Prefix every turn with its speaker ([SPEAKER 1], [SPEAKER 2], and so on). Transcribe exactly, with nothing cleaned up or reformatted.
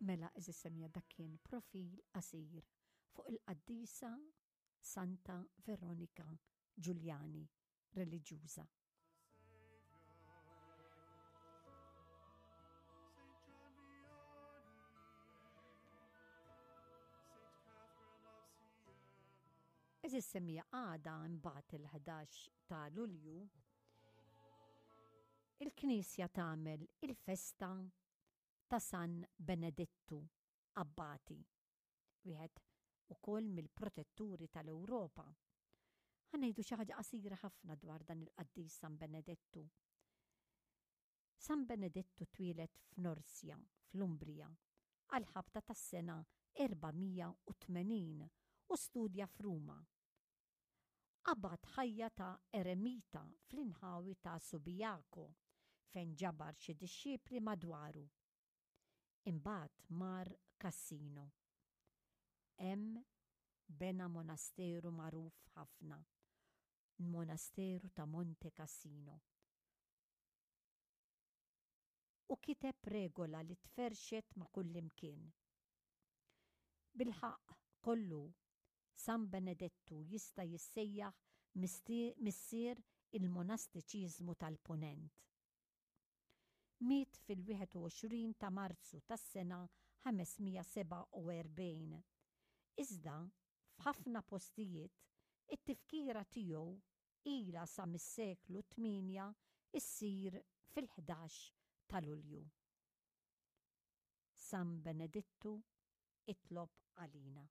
[SPEAKER 1] Mela, għeżież semmiegħa, dak kien profil qasir fuq il-qaddisa Santa Veronika Giuliani, reliġjuża. Għeżież semmiegħa, għada imbagħad il-ħdax ta' Lulju il-Knisja tagħmel il-festa ta' San Benedettu Abbati, wieħed ukoll mill-protetturi tal-Ewropa. Ħa ngħidu xi ħaġa qasira ħafna dwar dan il-qaddis San Benedettu. San Benedettu twieled f'Norsja, fl-Umbria, għal-ħabta tas-sena erba' mija u tmenin u studja f'Ruma. Qabad ħajja ta' eremita fl-inħawi ta' Subiaco, fejn ġabar xi dixxipli madwaru. Imbagħad mar Cassino. Hemm bena monasteru magħruf ħafna, il-monasteru ta' Monte Cassino. U kiteb regola li tferxet ma' kullimkien. Bilħaqq kollu, San Benedettu jista' jissejjaħ missier il-monastiċiżmu tal-Punent. Miet fil-wieħed u għoxrin ta' Marzu tas-sena ħames mija sebgħa u erbgħin. Iżda f'ħafna postijiet it-tifkira tiegħu ilha sa mis-seklu tmienja issir fil-ħdax ta' Lulju. San Benedittu, itlob għalina.